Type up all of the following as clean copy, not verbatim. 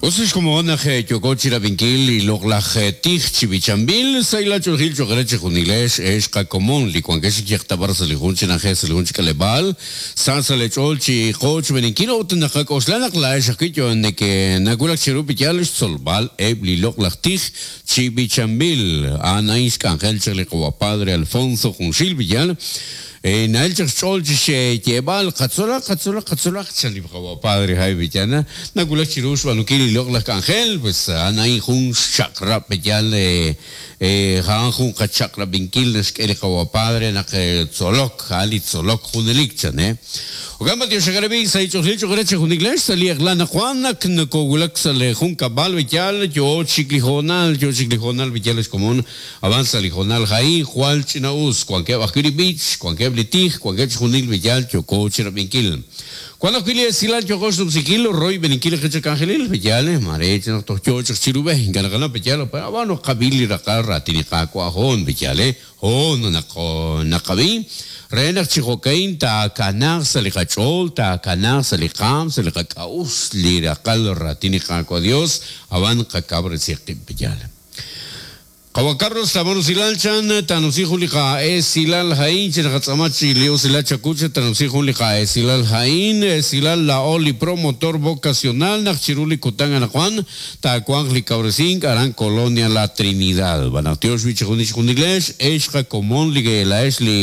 Us li xkomon naq yooko chirab'inkil li loq'laj tij chi b'ichanb'il, sahilal ch'oolejil cho'q re chejunilex ex qakomon li wankex chi yeqtab'ar sa' li jun chi na'ajej sa' li jun chi k'aleb'aal, sa sa' leech'ool chi qoochb'eeninkil ut naqak'oxla naq laa'ex ajwi' yo nekenawulak cheru b'iyal xtzolb'al eb' li loq'laj tij chi b'ichanb'il. A'an a'in xk'anjel chaq li qawa' Padre Alfonso junxil b'iyal. Na'el chaq xch'ool chi xyeeb'al, Qatzolaq, qatzolaq, qatzolaq, chan li qawa' Padre Jaime Villana, nawulak chiru xb'aanunkil li loq'laj k'anjel, pues a'an a'in jun xchaq'rab' yal a'an jun qachaq'rab'inkil naxk'e li qawa' Padre naq tzolok, a'an li tzolok junelik, chan. Jo'kan b'antiox xaqarab'i sa' li ch'oqlil ch'oq re chejunilex sa' li eq'la anaqwan naq nokowulak sa' li junkab'al yal yoo chik li hoonal, yoo chik li hoonal yal ex komon. Ab'an sa' li hoonal a'in jwal ch'ina'us, wankeb' ajwi' li b'ich, wankeb' li tij, wankeb' chixjunil li yaal yooko chirab'inkil. Wank ajwi' li esilal yooko xnumsinkil royb'eninkil li qechak'anjelil, pe'yaal, maare naq toj yoo chaq chiru b'e, ink'a' naqanaw pe'yaal, ab'an naqab'i li raqal raatin li Qaawa' hoon, pe'yaal, hoon naq naqab'i, re naq chi jo'ka'in taakanaaq sa' li qach'ool, taakanaaq sa' li qaam, sa' li qak'a'uxl li raqal raatin li Qaawa' Dios, ab'an qakawresi qib', pe'yaal. Qawa' Carlos Tabón Usilal chan taanumsi jun li qa'esilal ha'in chi naqatz'aama chi li usilal chawu chan taanumsi jun li qa'esilal ha'in esilal laa'o li promotor vocacional naq chiru li kutan anaqwan taawanq li kawresink aran Colonia La Trinidad b'an naq tiox wi' chi junil chjunilex ex qakomon li laa'ex li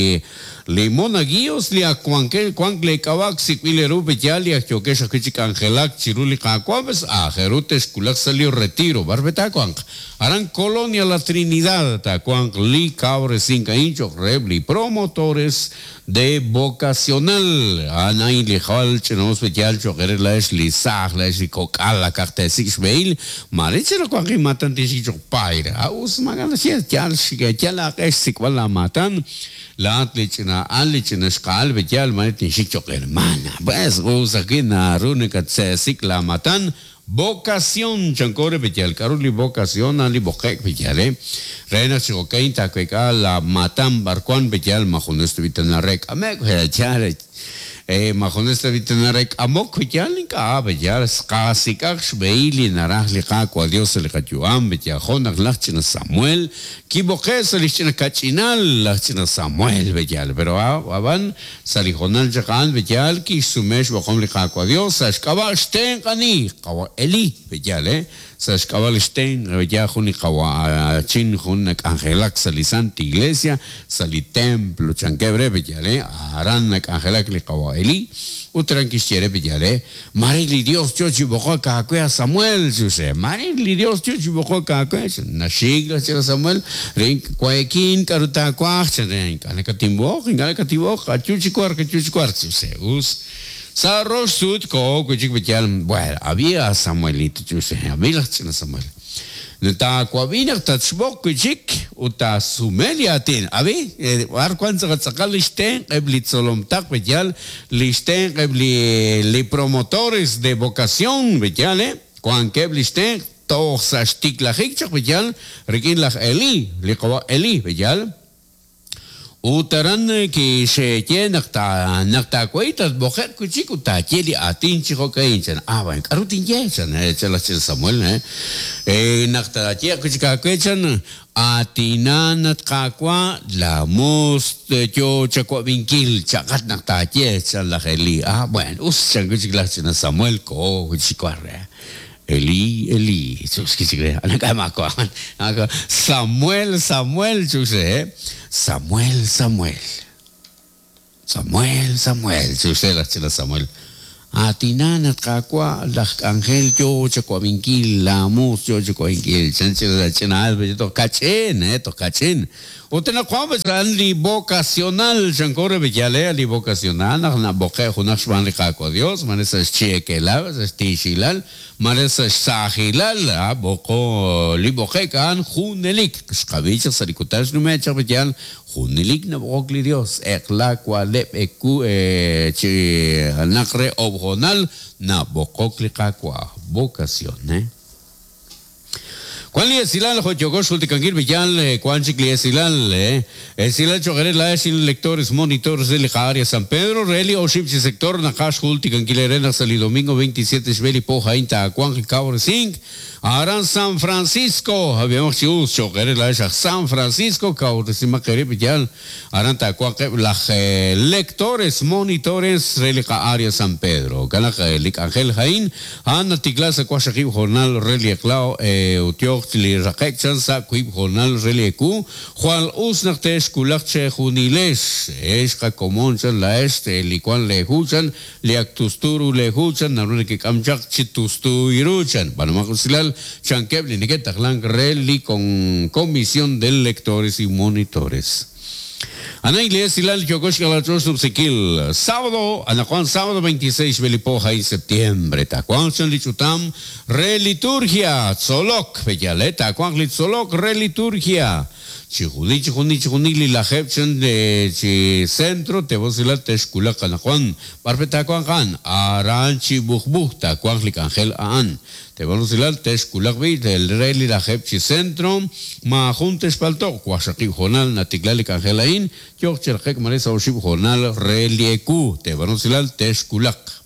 Li monaguillos li ak wankeb' wank lee k'ab'a' ak sik'b'il eeru pe yaal li ak yookex ajwi' chi k'anjelak chiru li Qaawa' pues aajel ru texwulaq sa' li retiro b'ar pe taawanq. Aran Colonia La Trinidad taawanq li kawresink a'in cho'q reheb' li promotores de vocacional. A'an a'in li jwal ch'ina'us pe yaal cho'q eere laa'ex li saaj, laa'ex li kok'al akaq teesik' xb'ehil, maare chenaq wanq inmaatan tinxik cho'q paayr. A us maak'a' naxye, yaal yal aaq'e xsik'b'al laamaatan. Laa'at li ch'ina al, li ch'ina xqa'al, b'eyal mare tinxik cho'q hermana. Pues, us ajwi' naru nakatse'sik laamatan, vocación, chanko re b'eyal. K'aru li vocación? A'an li b'oqe'k b'eyal, eh. Re naq chi jo'ka'in taaweek'a laamatan b'arwan b'eyal ma junes tab'i' tana re k'ame'k, yaal, Ma junes tab'i' tana re k'amok? Yaal ink'a', yaal qasik'aq xb'ehil li naraj li Qaawa' Dios sa' li qayu'am, yaal jo' naq laj ch'ina Samuel kib'oqe' sa' lix ch'ina kach'inal laj ch'ina Samuel, yaal, pero a'b'an sa' li hoonal chaq a'an, yaal, kixsume xb'oqom li Qaawa' Dios sa' xk'ab'a' xtenq' ani? Qawa' Eli, yaal, Sa' xk'ab'a' li xtenq' yaal jun li qawa'chin jun nak'anjelak sa' li Santa Iglesia, sa' li templo, chankeb' re, Beyalé, aran nak'anjelak li qawa' Elí. Ut aran kixye re, Beyalé, Mare li Dios yo chi b'oqok aawe a Samuel, chuse. Mare li Dios yo chi b'oqok aawe, chan. Naxik laj ch'ina Samuel, Rin wayekin k'aru taawaj, chan re. Ink'a' nakatinb'oq, ink'a' nakatinb'oq, ayu chi wark, ayu chi wark, chuse. Us. Sa' rox sut koho wi' chik b'iyal, Bueno, ab'i a Samuelito, ch'uxej, ab'i laj ch'ina Samuel. Taawab'i naq tatxb'oq wi' chik ut taasume li aatin. Ab'i, b'ar wank tz'aqal tz'aqal li xtenq' eb' li tzolom taq b'iyal, li xtenq' eb' li li promotores de vocación b'iyal, eh, wankeb' li xtenq' toj sa' xtiklajik chaq b'iyal rik'in laj Elí, li qawa' Elí b'iyal. Ut aran kixye naq ta naq taawahi tatb'oqe'q wi' chik ut taaye li aatin chi jo'ka'in, chan. Ab'an k'aru tinye? chan, chan laj ch'ina Samuel. Naq taayeeq wi' chik aawe, chan, Aatinan, at Qaawa', laamoos yo chawab'inkil, cha'qat naq taaye, chan laj Elí. Ah, bueno, us, chan wi' chik laj ch'ina Samuel, koho wi' chik war. Elí, Elí, Samuel, Samuel, Samuel, Samuel. Samuel, Samuel, chuxe laj ch'ina Samuel. Aatinan, at Qaawa', laj k'anjel yo chawab'inkil, laamoos yo chawab'inkil. Chan ch'ina ch'ina al, toj kach'in, toj kach'in. Ut anaqwan pues a'an li vocacional, chanko re b'eyal, li vocacional naq nab'oqe' junaq xb'aan li Qaawa' Dios, mare sa' xchi'ekelal, sa' xtiixilal, mare sa' xsaajilal, a b'oqo, li b'oqe'k a'an junelik. Xqab'i chaq sa' li kutan xnume' chaq b'eyal, junelik nab'oqok li Dios, eq'la, wa'leb', ewu, chi naq re oob' hoonal nab'oqok li Qaawa', vocación, eh. Wan li esilal jo' yooko xjultikankil b'iyal, wan chik li esilal, esilal cho'q eere laa'ex li lectores monitores re li qa'área San Pedro, re li oxib' chi sector naqaj xjultikankil eere naq sa' li domingo 27 xb'e li po a'in taawanq li kawresink aran San Francisco. Ab'ihomaq chi us, cho'q eere laa'ex aj San Francisco, kawresimaq eerib' b'iyal, aran taawanq eb' laj lectores monitores re li qa'área San Pedro. Jo'kan naq li k'anjel a'in A'an natikla sa' waqxaqib' hoonal re li eq'la ut yooq li raqe'k chan sa' wiib' hoonal re li ewu, jwal us naq te'xwulaq chejunilex, ex qakomon chan laa'ex li wank leehu chan, li ak tustu ru leehu chan naru nekek'am chaq chi tustu ru chan, b'aanumaq usilal chankeb' li neke'taqlank re li Comisión de Lectores y Monitores. Ana Iglesia yooko xk'alach'ool xnub'sikil. Sábado, anaqwan sábado 26 xb'e li po a'in septiembre, taawanq chan li ch'utam re liturgia, tzolok, pe'yaal, taawanq li tzolok re liturgia. Chijunil, chijunil, chijunil li lajeeb' chan chi centro te'wosilal te'xwulaq anaqwan. B'ar pe taawanq a'an? Aran chi b'ujb'uj taawanq li k'anjel a'an. Teeb'al usilal, texwulaq b'i' re li lajeeb' chi centro, maajun texpalto'q, waqxaqib' hoonal natikla li k'anjel a'in, yooq chi raqe'k mare sa' oxib' hoonal re li ewu. Teeb'al usilal, texwulaq.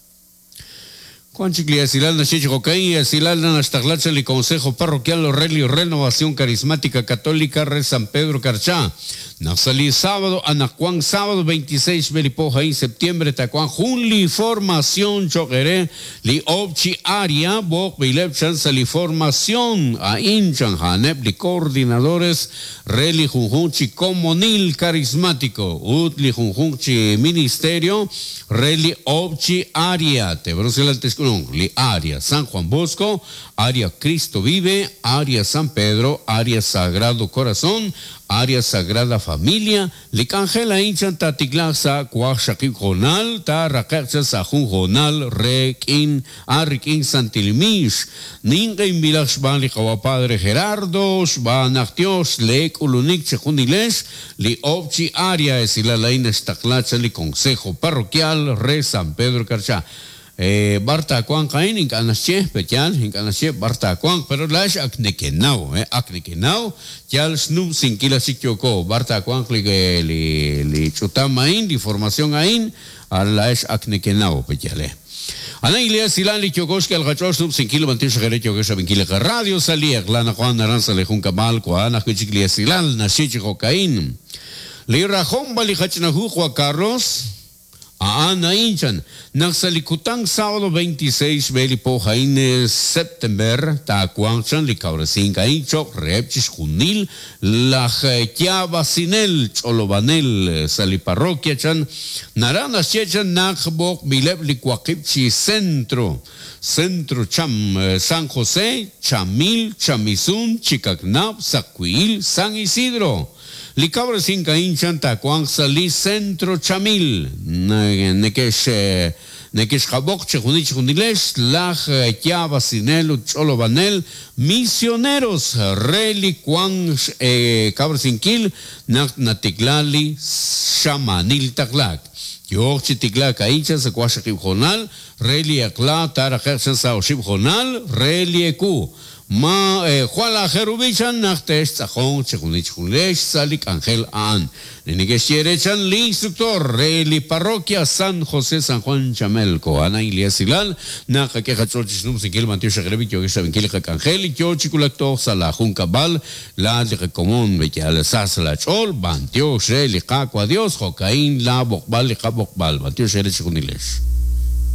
Wan chik li esilal naxye chi jo'ka'in, esilal naxtaqla chaq li Consejo Parroquial re li Renovación Carismática Católica re San Pedro Carchá, Naq sa' li sábado anaqwan sábado 26 xb'e li po a'in septiembre taawanq jun li formación cho'q eere li oob' chi área b'oqb'ileb' chan sa' li formación a'in chan a'aneb' li coordinadores re li junjunq chi komonil carismático ut li junjunq chi ministerio re li oob' chi área teeb'aanu texk'ulunq li área San Juan Bosco, área Cristo Vive, área San Pedro, área Sagrado Corazón, Área Sagrada Familia, li k'anjel a'in chan taatiklaaq sa' waqxaqib' hoonal, taaraqe'q chan sa' jun hoonal re k'in a rik'in santil miix. Ninq'ehinb'ilaq xb'aan li Qawa' Padre Gerardo, xb'aan naq Yos lee k'ulunik chejunilex, li oob' chi área esilal a'in naxtaqla chan li Consejo Parroquial re San Pedro Carchá. B'ar taawanq a'in? Ink'a' naxye, pe'yaal? Ink'a' naxye b'ar taawanq, pero laa'ex ak nekenaw, ak nekenaw, yal xnumsinkil aj chik yooko. B'ar taawanq li, li, li ch'utam a'in, li formación a'in, laa'ex ak nekenaw, pe'yaal? Ana Iglesia Silal li yooko xk'el qach'ool xnumsinkil b'antiox re yooko xrab'inkil li qaradio sa' li eq'la anaqwan aran sa' li junkab'al wank ajwi' chik li esilal naxye chi jo'ka'in. Li rajom b'an li qach'ina hu Juan Carlos, A'an a'in chan, naq sa' li kutan sábado 26 xb'e li po a'in september taawanq chan li kawresink a'in cho'q reheb' chixjunil laj yaab'asinel ch'olob'anel sa' li parroquia chan, naraj naxye chan naq b'oqb'ileb' li waqib' chi centro, Centro Cham, San José, Chamil, Chamisun, Chicacnab', Saqwi'il, San Isidro. Li kawresink a'in chan taawanq sa' li Centro Chamil. Neke'x neke'xqab'oq chixjunil chixjunilex laj yaab'asinel ut ch'olob'anel misioneros re li wank xkawresinkil naq natikla li xamaanil taqlaak. Yooq chi tiklaak a'in chan sa' waqxaqib' hoonal re li eq'la taaraqe'q chan sa' oxib' hoonal re li ewu. Ma jwal aajel ru b'i' chan naq te'xtz'aqonq chixjunil chixjunilex sa' li k'anjel a'an. Li neke'xye re chan li instructor re li parroquia San José San Juan Chamelco, a'an a'in li esilal naq qak'e qach'ool chi xnumsinkil b'antiox xaq re b'i' yookex xrab'inkil li qak'anjel li yoo chi wulak toj sa' laa junkab'al, laa'at li qakomon, b'eyal sa sa' laa ch'ool, b'antiox re li Qaawa' Dios, jo'ka'in laa b'oqb'al li qab'oqb'al, b'antiox eere chixjunilex.